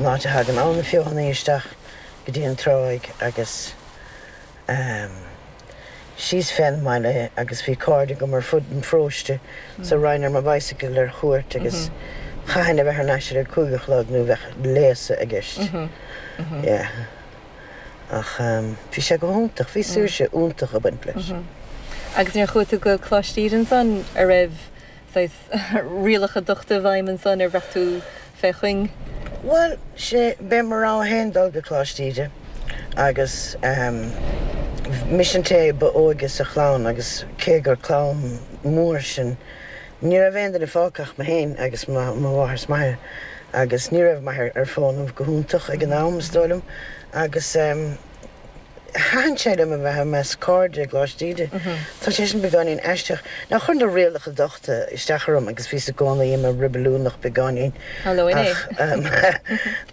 an áit a thagann Abhainn na Feothanaí isteach go dtí an tráigh agus ehm síos fén mbaile agus bhí cairde agam ar fud an pharóiste so raghainn ar mo bicycle ar chuairt agus chaithfinn a bheith thar n-ais ar a 5 a chlog nó bheadh léasadh i gceist. Yeah. Ach bhí sé go hiontach, bhí saoirse iontach ag baint leis. Agus nuair a chuaigh tú go Coláiste Íde ansan, a' raibh saghas rialacha dochta i bhfeidhm ansan, ar bhraith tú fé chuing? Bhuel, sé, b'é mo rogha féin dul go Coláiste Íde agus mise an té ba óige sa chlann agus cé gur clann mór sinn, Ní raibh aon duine fágtha ach mé féin agus mo mháthair is m'athair agus ní raibh m'athair ar fónamh go hiontach ag an am, is dóigh liom, agus thaitin sé liom a bheith i measc cairde i gColáiste Íde. Tá sé sin beagáinín aisteach. Now chuir na rialacha dochta isteach orm agus bhíos i gcónaí i mo reibiliúnach beagáinín ach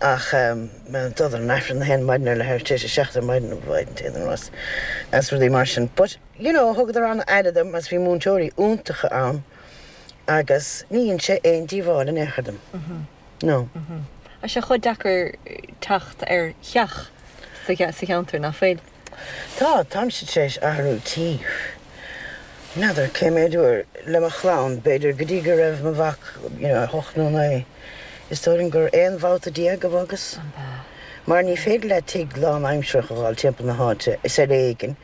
ach dul ar an Aifreann a haon maidin ar leathuair tar éis a 7 ar maidin, mhaidin téad an rás agus rudaí mar sin. But. You know, thugadar an-aire dom agus bhí múinteoirí iontacha ann agus ní dhein sé aon díobháil in aon chor dom. No. Tá sé chomh deacair teacht ar theach sa cheantar, nach bhfuil? Tá, táimse tar éis athrú tí. N'fheadar cé méid uair le mo chlann, b'fhéidir go dtí go raibh mo mhac, you know, 8 nó 9. Is dóigh liom gur 11 bhabhta a bhogas. Mar ní féidir leat tigh lánaimsearach a fháil timpeall na háite, is ar éigean.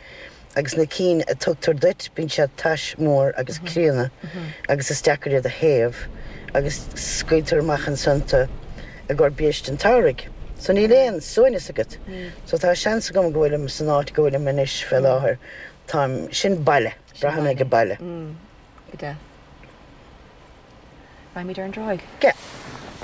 Agus na cinn a tugtar duit, bíonn siad tais mór agus críonna agus is deacair iad a théamh agus scaoiltear amach ansan tu i gcomhair biaiste an tsamhraidh. So níl aon suaimhneas agat. So tá seans agam go bhfuilim san áit go bhfuilim anois fé láthair. Táim, sin baile, braithim ag baile. Go deas. Raghaimid ar an dtráigh. Yeah.